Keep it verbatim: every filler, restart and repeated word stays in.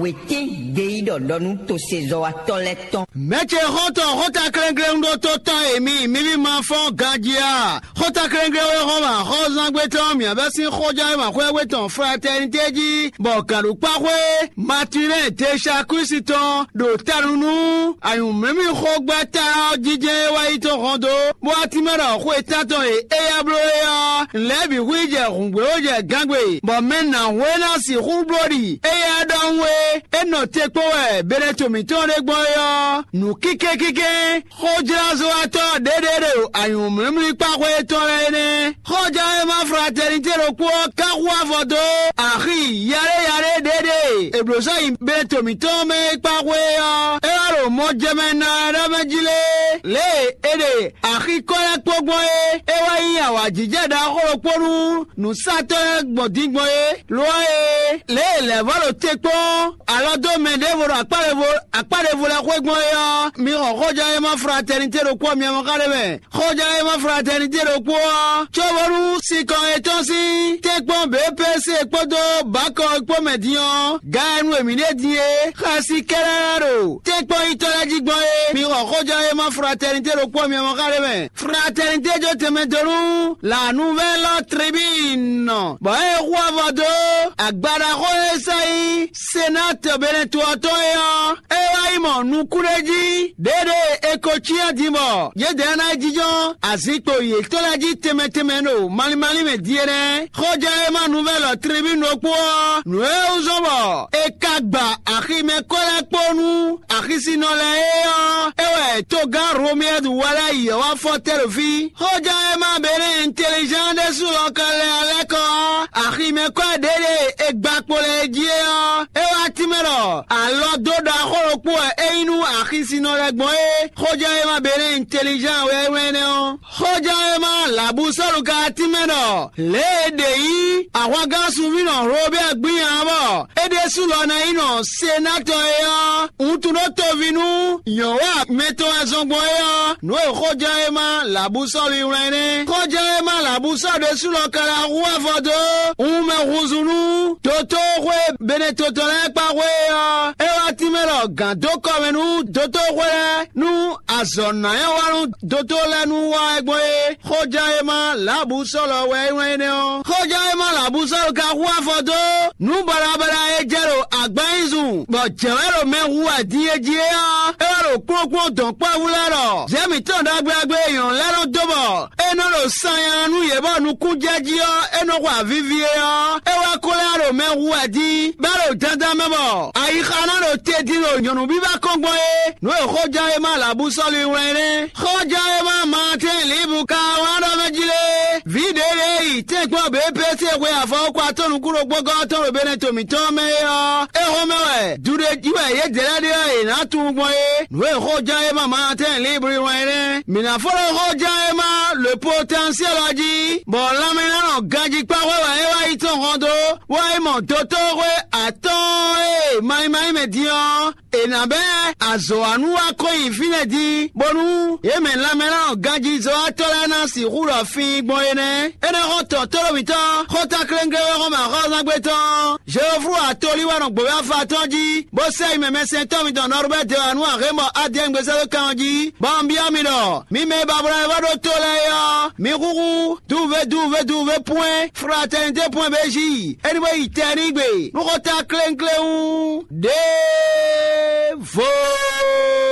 Wětín gbeyíɖɔ ɖɔ nú tosezɔ́watɔ́ lɛ́ɛ tɔn. Mɛ̌ ce xɔ́ntɔn xóta klɛ́nklɛ́n ɖó tó tɔn e mi mǐví ma fɔ́n ganjí a? Xóta klɛ́nklɛ́n wɛ xɔ́n ma xɔ́zángbé tɔn mǐ abɛ́ sín xójánwéma xwé tɔn Fratɛnité jí, bɔ gǎnɖokpáxwé Matinɛ́ɛ Dechakwísi tɔn ɖo tanu nú anyǔmlímlí xógbɛ́ta ɔ́ jínjɛ́n e wá yi tɔn hɔn dó, bó wá tínmɛ ɖɔ xwe tántɔn e éyɛ́ bló é ɔ́, lɛ̌ bǐ hu yi jɛ hǔngbléwó jɛ gángbe, bɔ mɛ nǎhún e ná sixú bló ɖi éyɛ́ ɖɔhun e é nɔ te kpó wɛ Benɛto mǐtɔn ɖé gbɔn é ɔ́, nǔ kínkɛ́nkyínkɛ́n xójlázɔ́watɔ́ ɖěɖě ɖo anyǔmlímlí kpáxwé tɔn lɛ́ɛ é nɛ́. Xójánwéma e ma Fratɛnité ɖokpó ɔ́ ka hu avɔ dó axi yaɖé yaɖé ɖěɖě e blǒ sɔ́ nyi Benɛto mǐtɔn mɛ é kpáxwé é ɔ́, é wá ɖo mɔjɛmɛ ná ɛ ɖɔ mɛ jí lé, lě e è ɖe axi kɔ́ lɛ́ɛ kpó gbɔn é, é wá nyí awǎjijɛ ɖaxó ɖokpó nú nǔsatɔ́ lɛ́ɛ gbɔn din gbɔn é. Lo ɔ́ e, lě e lɛ̌ vɔ ɖo te kpɔ́n alɔ dó mɛ ɖěvo ɖo akpá ɖěvo akpá ɖěvo lɛ́ɛ xwé gbɔn é ɔ́, mi xɔ xójánwéma Fratɛnité ɖokpó ɔ́ mi mɔ xá ɖé mɛ. Xójánwéma Fratɛnité ɖokpó ɔ́, cóbónú sinkɔn yětɔn sín tɛ́nkpɔ́n B P C kpódó Bakɔ kpó mɛ din ɔ́, ga e nu e mǐ ɖe din é, xɛsi kɛ́ɖɛ́ ɖo tɛ́nkpɔ́n nyitɔ́ lɛ́ɛ jí gbɔn é. Mi xɔ xójánwéma Fratɛnité ɖokpó ɔ́ mi mɔ xá ɖé mɛ. Fratɛnité jó tɛnmɛ dó nú La Nouvelle Tribune, bɔ é hu avɔ dó agbaɖaxó e sɔ́ nyí Senatɔ Benɛto ɔ́ tɔn é ɔ́, é wá yi mɔ nukúnɖéjí ɖěɖě e è ko cyán din bɔ yědɛɛ ná yi jínjɔ́n azinkpo yětɔn lɛ́ɛ jí tɛnmɛ tɛnmɛ ɖo malín málín mɛ din é nɛ́. Xójánwéma Nouvelle Tribune ɖokpó ɔ́, nǔ e wú zɔ́n bɔ è ka gba aximɛ kɔ́ lɛ́ɛ kpó nú axisinɔ lɛ́ɛ é ɔ́, é wɛ togán Romuald Walɛ́ yě wá fɔ tɛ́ ɖo fí. Xójánwéma Benɛ́ Intelligent ɖésú lɔ ka lɛ alɛ́ kɔ ɔ́, aximɛ kɔ́ ɖěɖě e gba kpo lɛ́ɛ jí é ɔ́, é wá tínmɛ ɖɔ alɔ dó ɖaxó ɖokpó wɛ é nyí nú axisinɔ lɛ́ɛ gbɔn é. Xójánwéma Benɛ́ Intelligent wɛ é wlɛ́n énɛ́ ɔ́. Xójánwéma Labusɔ́lu ka tínmɛ ɖɔ lě e è ɖe yí ahwangán sunví nɔ Robɛ́ɛ gbín ǎ bɔ é ɖésú lɔ ná nyí nɔ senátɔ é ɔ́, wuntun ɖó toví nú nyɔ̌wa mɛ tɔn e zɔn gbɔn é ɔ́, nǔ e xójánwéma Labusɔ́lu yi wlán é nɛ́. Xójánwéma Labusɔ́lu ɖésú lɔ ka lɛ́ hu avɔ dó wunmɛ húzú nú dotóxwé Benɛtotɔ́ lɛ́ɛ kpá xwé é ɔ́, é wá tínmɛ ɖɔ gǎn dó kɔ mɛ nú dotóxwé lɛ́ɛ nú azɔ̌ ná nyɔ́ wa nú dotó lɛ́ɛ nú wa wɛ gbɔn é. Xójánwéma Labusɔ́lu wɛ é wlán énɛ́ ɔ́. Xójánwéma Labusɔ́lu ka hu afɔ dó nǔ baɖabaɖa e jɛ ɖo agbanyízun, bɔ jɛ̌ wɛ ɖo mɛ hu wɛ din e jí é ɔ́, é wɛ ɖo kplɔ́nkplɔ́n dɔ̌nkpɛvú lɛ́ɛ ɖɔ zɛ̌ mǐtɔn ɖagbe ɖagbe e nyɔ̌nu lɛ́ɛ nɔ dó bɔ é nɔ ɖo sanya nú yě bɔ nukúnjɛjí ɔ́, é nɔ xo avivi é ɔ́, é wá ko lɛ́ ɖo mɛ hu wɛ din, bɔ é ɖo dandan mɛ bɔ ayixa ná ɖo te din ɖo nyɔ̌nu bíbá kɔn gbɔn é. Nǔ e xójánwéma Labusɔ́lu wlán é nɛ́. Xójánwéma Maatɛ́n Libu ka wlán ɖɔ mɛ jí lé, vǐ ɖě lě yi tɛ́nkpɔ́n běpése xwe afɔwɔ́kɔ atɔ́ nukúnɖokpɔ́gɔ́ tɔn ɖo Benɛto mǐtɔn mɛ é ɔ́, é xɔ́mɛ wɛ duɖejí wɛ yědɛɛ lɛ́ɛ ɖe ɔ́ è nǎ tunwun gbɔn é. Nǔ e xójánwéma Maatɛ́n Libu wlán é nɛ́. Mǐ ná fó ɖo xójánwéma Le Potentiel ɔ́ jí, bɔ lanmɛnánɔ ganjí kpáxwé wɛ é wá yi tɔn hɔn dó, bó wá yi mɔ dotóxwé atɔ́ɔ́n e ma nyí ma nyí mɛ din ɔ́, è nǎ bɛ́ azɔ̌wanú wá kɔn nyi fínɛ́ din, bónú yě mɛ lanmɛnánɔ ganjízɔ́watɔ́ lɛ́ɛ ná sixú ɖɔ fín gbɔn é nɛ́. Énɛ́ xɔ́ntɔn tóɖó mǐtɔn xɔ́ntɔn kléŋklé wɛ xɔ́mɛ axɔ́zángbé tɔn Jeoflu atolí wɛ nɔ gbǒvé afa tɔn jí, bó sɛ́ yi mɛ mɛsɛntɔ́ mitɔn Nɔrubɛ́ de wǎ nú axémɔ Adiyɛ́ngbésɛ́dó kan ɔ́ jí, bɔ un byɔ́ mi ɖɔ mi mɛ e ba bló wɛ vɔ ɖó tó lɛ́ɛ é ɔ́, mi xúxú duve duve duve pwɛ́n fratɛnité pwɛ́n béjí, é ní bó yi tɛ n'i gbe nú xɔ́ntɔn kléŋklé wú. Ɖěvo.